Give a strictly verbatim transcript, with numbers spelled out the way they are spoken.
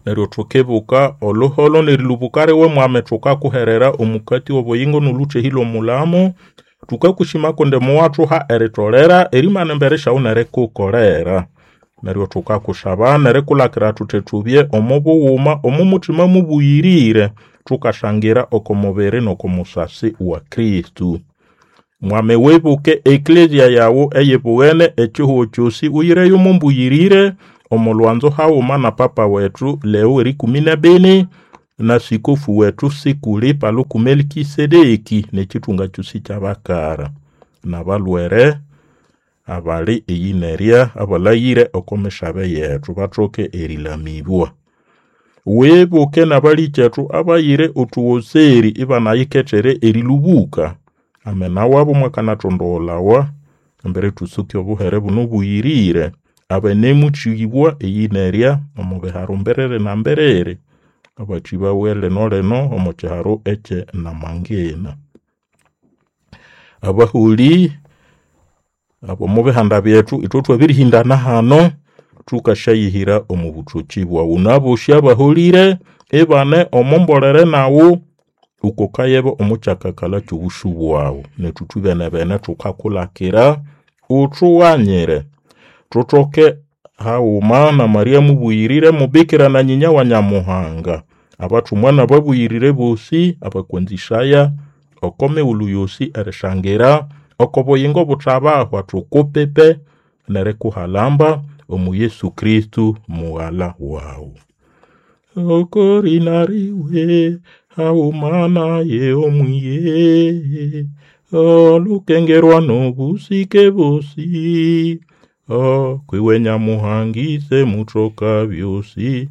Neryo thukibuka oluholo n'erilũbũka liwe Mwami thukakuherera omukati w'obuyingo n'olũthehĩ lw'omulamo. Thukakushima kundi muwathuha eritolera erimana embere syawu n'erikukolera. Neryo thukakusaba n'erikulakira thuthi thubye omo bughuma omo muthima mũbũyĩrĩre thukashangira oko mubiri n'oko musasi wa Kristo. Mwami wibuke eklezia yawu eyibugene ekihugo kyosĩ uyireyo omo mbũyĩrĩre omo lwanzo haghuma na Papa wetu Leo w'erĩkũmĩ n'ebini na Sikofu wetu Sikuli Paluku Melkisedeki n'ekithunga kyosĩ ky'abakara n'abalhwere abali eyinerya abalhaghĩre oko misabe yetu bathoke erĩlamĩbwa. Wibuke n'abalĩkyetu abayire othughoseri ibanayikethere erĩlũbũka. Amena wabo mwakanatondogholawa embere thũsũke obuhere buno obũyĩrĩre abanemuthĩbwa eyinerya omo biharo mbiriri na mbiriri abathĩbawe lino lino omo kiharo ekye Namangina. Abaholĩ ab'omo bihanda byethu ithwe thwabĩrĩhĩndana hano thukasyayihira omo bũthokĩ bwaghu n'abosĩ abaholĩre ibane omo mbolere naghu wukokayeba omo kyakakalha ky'obũsũ bwaghu. Nethu ithwibene-bene thukakulakira uthughanyire thuthoke haghuma na Maria mũbũyĩrĩre mubikira na nyinya wa Nyamuhanga, abathumwa n'ababũyĩrĩre bosĩ abakwanzĩsaya oko mighulhu yosĩ erishangira oko buyingo buthabahwa thukupipe n'erikuhalamba omo Yesu Kristo mughala waghu. Oko rĩna riwe haghuma naye omwiye olukengerwa n'obũsĩke bosĩ kwiwe Nyamuhanga ise mũtoka byosĩ.